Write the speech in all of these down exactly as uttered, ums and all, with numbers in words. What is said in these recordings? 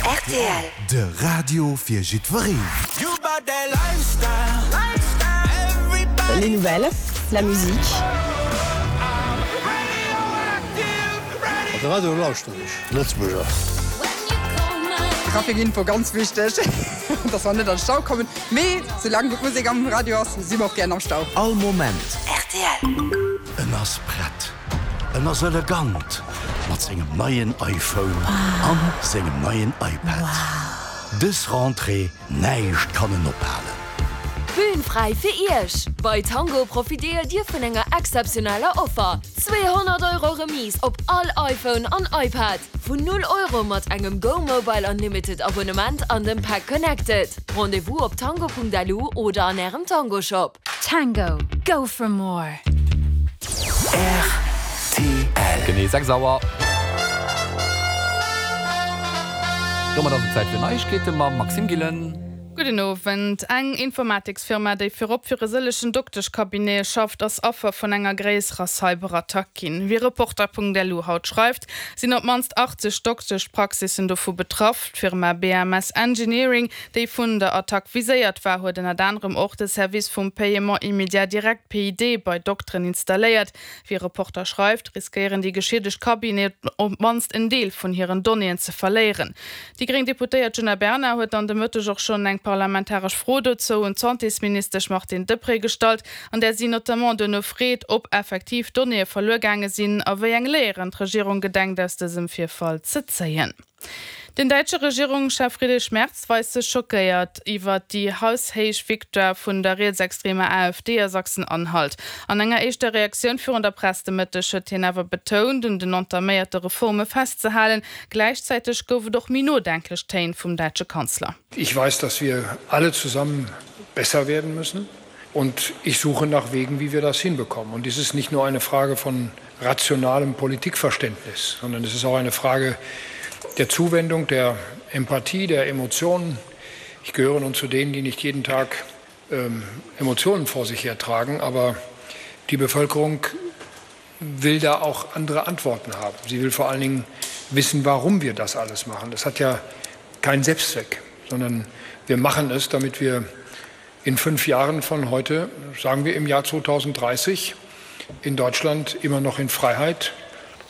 R T L. De Radio fir jiddwereen. Les nouvelles, la musique. De Radio lauschteren ech, Lëtzebuerger. Trafikinfo ganz wichteg, dass mer net an Stau kommen. Mee soulaang gutt Musek am Radio ass, si mer och gären am Stau. All Moment. R T L. En ass prett. En ass elegant mat sengem neien iPhone an sengem neien iPad. Dës Rentrée, näischt kann en ophalen. Bühn fräi fir Iech. Bei Tango profitéiert Dir vun enger exzeptioneller Offer. zweehonnert Euro Remise op all iPhone an iPad. Vun null Euro mat engem Go Mobile Unlimited Abonnement an dem Pack Connected. Rendezvous op tango Punkt L U oder an ärem Tango Shop. Tango. Go for more. R T L. Genee sechs Auer. Domat ass et Zäit fir Neiegkeete mam Maxime Gillen. Gudden Owend. Eng Informatiksfirma, déi virop fir e sëllegen Dokteschcabinete schafft, ass Affer vun enger gréisserer Cyberattack ginn. Wéi Reporter Punkt L U haut schreift, sinn op d'mannst achtzeg Dokteschpraxissen dovu betraff. D'Firma B M S Engineering, déi vun der Attack viséiert war, huet ënnert anerem och de Service vum Paiement immédiat direct P I D bei Dokteren installéiert. Wéi Reporter schreift, riskéieren déi geschiedegt Cabineten op d'mannst en Deel vun hiren Donnéeën ze verléieren. Déi gréng Deputéiert Djuna Bernard huet an de Mëtteg och schonn eng parlamentaresch Fro dozou un d'Santésministesch Martine Deprez gestallt, an där si notamment duerno freet, ob effektiv Donnéeë verluer gaange sinn a wéi eng Léieren d'Regierung gedenkt aus dësem Virfall ze zéien. Den däitsche Regierungschef Friedrich Merz weist sech schockéiert iwwer déi haushéich Victoire vun der rietsextremer A F D a Sachsen-Anhalt. An enger éischter Reaktioun virun der Press de Mëtteg huet hien awer betount, un den entaméierte Reforme festzehalen. Gläichzäiteg gouf et och méi nodenklech Téin vum däitsche Kanzler. Ich weiß, dass wir alle zusammen besser werden müssen. Und ich suche nach Wegen, wie wir das hinbekommen. Und dies ist nicht nur eine Frage von rationalem Politikverständnis, sondern es ist auch eine Frage der Zuwendung, der Empathie, der Emotionen. Ich gehöre nun zu denen, die nicht jeden Tag ähm, Emotionen vor sich hertragen, aber die Bevölkerung will da auch andere Antworten haben. Sie will vor allen Dingen wissen, warum wir das alles machen. Das hat ja keinen Selbstzweck, sondern wir machen es, damit wir in fünf Jahren von heute, sagen wir im Jahr zweitausenddreißig, in Deutschland immer noch in Freiheit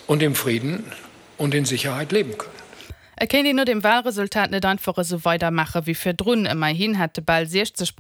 und im Frieden und in Sicherheit leben können. Et kéint een no dem Walresultat net einfach esou weidermaache wéi virdrun. Ëmmerhin hätte bal sechzeg.